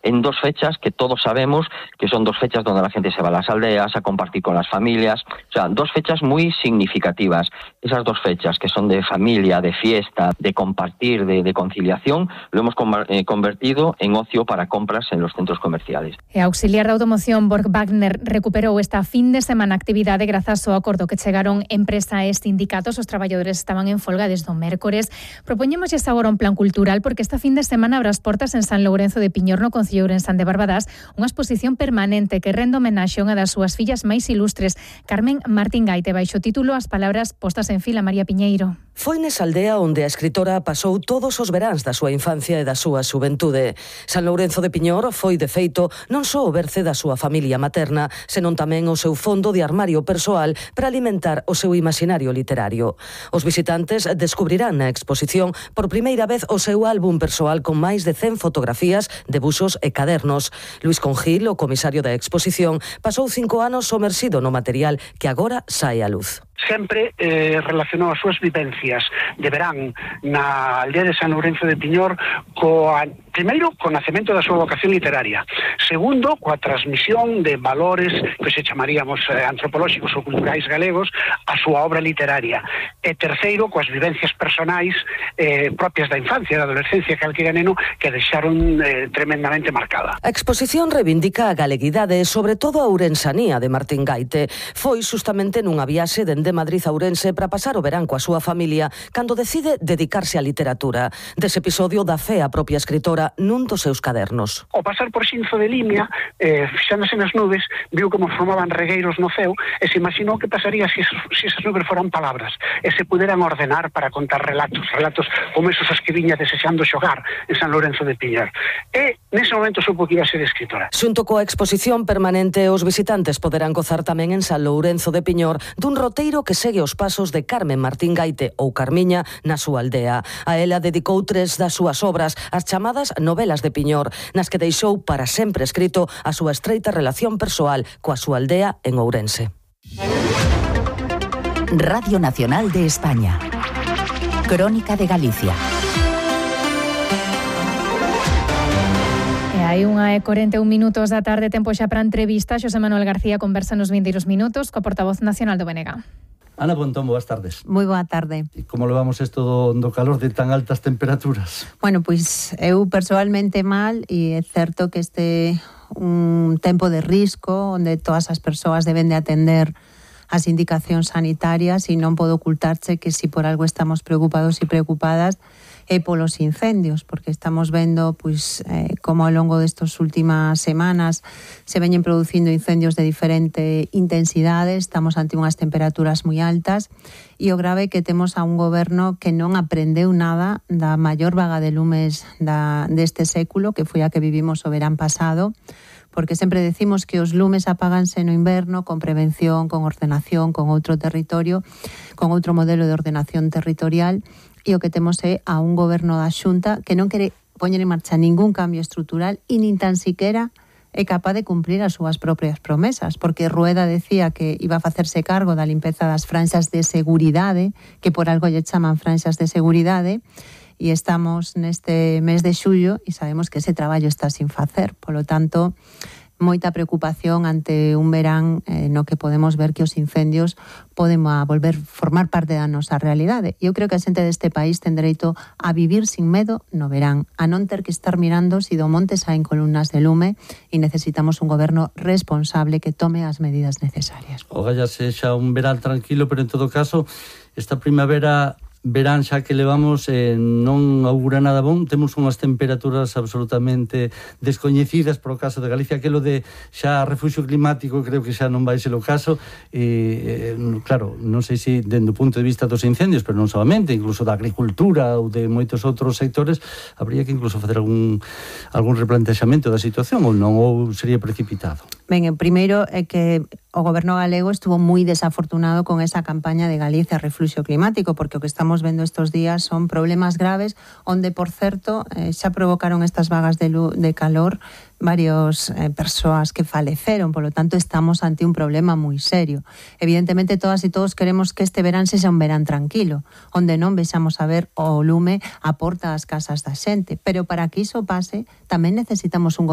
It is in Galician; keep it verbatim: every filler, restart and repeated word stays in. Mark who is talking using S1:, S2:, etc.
S1: en dos fechas que todos sabemos que son dos fechas donde la gente se va a las aldeas a compartir con las familias, o sea, dos fechas muy significativas. Esas dos fechas que son de familia, de fiesta, de compartir, de, de conciliación, lo hemos convertido en ocio para compras en los centros comerciales.
S2: E a auxiliar de automoción Borg Wagner recuperou esta fin de semana actividade grazas ao acordo que chegaron empresa e sindicatos. Os traballadores estaban en folga desde o mércores. Propoñémoslle agora un plan cultural porque esta fin de semana abre as portas en San Lourenzo de Piñor, no concello ourensán de Barbadás, unha exposición permanente que rende homenaxe a unha das súas fillas máis ilustres, Carmen Martín Gaite, baixo título As palabras postas en fila. María Piñeiro.
S3: Foi nesa aldea onde a escritora pasou todos os veráns da súa infancia e da súa xuventude. San Lourenzo de Piñor foi, de feito, non só o berce da súa familia materna, senón tamén o seu fondo de armario persoal para alimentar o seu imaginario literario. Os visitantes descubrirán na exposición por primeira vez o seu álbum persoal con máis de cen fotografías, debuxos e cadernos. Luís Congil, o comisario da exposición, pasou cinco anos somersido no material que agora sae á luz.
S4: Sempre eh, relacionou as súas vivencias de verán na aldea de San Lourenzo de Piñor coa, primeiro, co nacemento da súa vocación literaria, segundo, coa transmisión de valores que se chamaríamos eh, antropolóxicos ou culturais galegos a súa obra literaria, e terceiro, coas vivencias personais eh, propias da infancia e da adolescencia calquera neno que deixaron eh, tremendamente marcada.
S3: A exposición reivindica a galeguidade e sobre todo a ourensanía de Martín Gaite. Foi justamente nunha viaxe dende Madrid a Ourense para pasar o verán coa súa familia cando decide dedicarse á literatura. Dese episodio dá fe a propia escritora nun dos seus cadernos.
S4: Ao pasar por Xinzo de Limia, eh, fixándose nas nubes, viu como formaban regueiros no ceo e se imaginou que pasaría se si esas nubes foran palabras e se puderan ordenar para contar relatos, relatos como esos os que viña desexando xogar en San Lourenzo de Piñor. E nese momento supo que iba a ser escritora.
S3: Xunto coa exposición permanente, os visitantes poderán gozar tamén en San Lourenzo de Piñor dun roteiro que segue os pasos de Carmen Martín Gaite ou Carmiña na súa aldea. A ela dedicou tres das súas obras, as chamadas novelas de Piñor, nas que deixou para sempre escrito a súa estreita relación persoal coa súa aldea en Ourense.
S5: Radio Nacional de España. Crónica de Galicia.
S2: Hai unha e corenta e un minutos da tarde, tempo xa para a entrevista. Xosé Manuel García conversa nos vindeiros minutos co portavoz nacional do B N G.
S6: Ana Pontón, boas tardes.
S7: Moi boa tarde.
S6: E como levamos isto do, do calor de tan altas temperaturas?
S7: Bueno, pois eu persoalmente mal, e é certo que este un tempo de risco onde todas as persoas deben de atender as indicacións sanitarias, e non podo ocultarche que si por algo estamos preocupados e preocupadas é polos incendios, porque estamos vendo pois eh, como ao longo destas últimas semanas se veñen producindo incendios de diferente intensidade, estamos ante unhas temperaturas moi altas, e o grave é que temos a un goberno que non aprendeu nada da maior vaga de lumes da, deste século, que foi a que vivimos o verán pasado, porque sempre decimos que os lumes apáganse no inverno con prevención, con ordenación, con outro territorio, con outro modelo de ordenación territorial, e o que temos é a un goberno da Xunta que non quere poñer en marcha ningún cambio estrutural e nin tan siquiera é capaz de cumplir as súas propias promesas, porque Rueda decía que iba a facerse cargo da limpeza das franxas de seguridade, que por algo lle chaman franxas de seguridade, e estamos neste mes de xullo e sabemos que ese traballo está sin facer. Polo tanto, moita preocupación ante un verán eh, no que podemos ver que os incendios poden a volver formar parte da nosa realidade. Eu creo que a xente deste país ten dereito a vivir sin medo no verán, a non ter que estar mirando se do monte saen columnas de lume, e necesitamos un goberno responsable que tome as medidas necesarias.
S6: Ogalla sexa un verán tranquilo, pero en todo caso, esta primavera verán xa que levamos eh, non augura nada bon. Temos unhas temperaturas absolutamente descoñecidas por o caso de Galicia, aquilo de xa refuxio climático creo que xa non vai ser o caso, e eh, claro, non sei se dende o punto de vista dos incendios, pero non solamente, incluso da agricultura ou de moitos outros sectores, habría que incluso facer algún algún replantexamento da situación, ou non, ou sería precipitado.
S7: Ben, o primeiro é que o goberno galego estuvo moi desafortunado con esa campaña de Galicia Refluxio Climático, porque o que estamos vendo estes días son problemas graves, onde, por certo, eh, xa provocaron estas vagas de, luz, de calor varias eh, persoas que faleceron, polo tanto estamos ante un problema moi serio. Evidentemente todas e todos queremos que este verán sexa un verán tranquilo, onde non vexamos a ver o lume a porta das casas da xente, pero para que iso pase tamén necesitamos un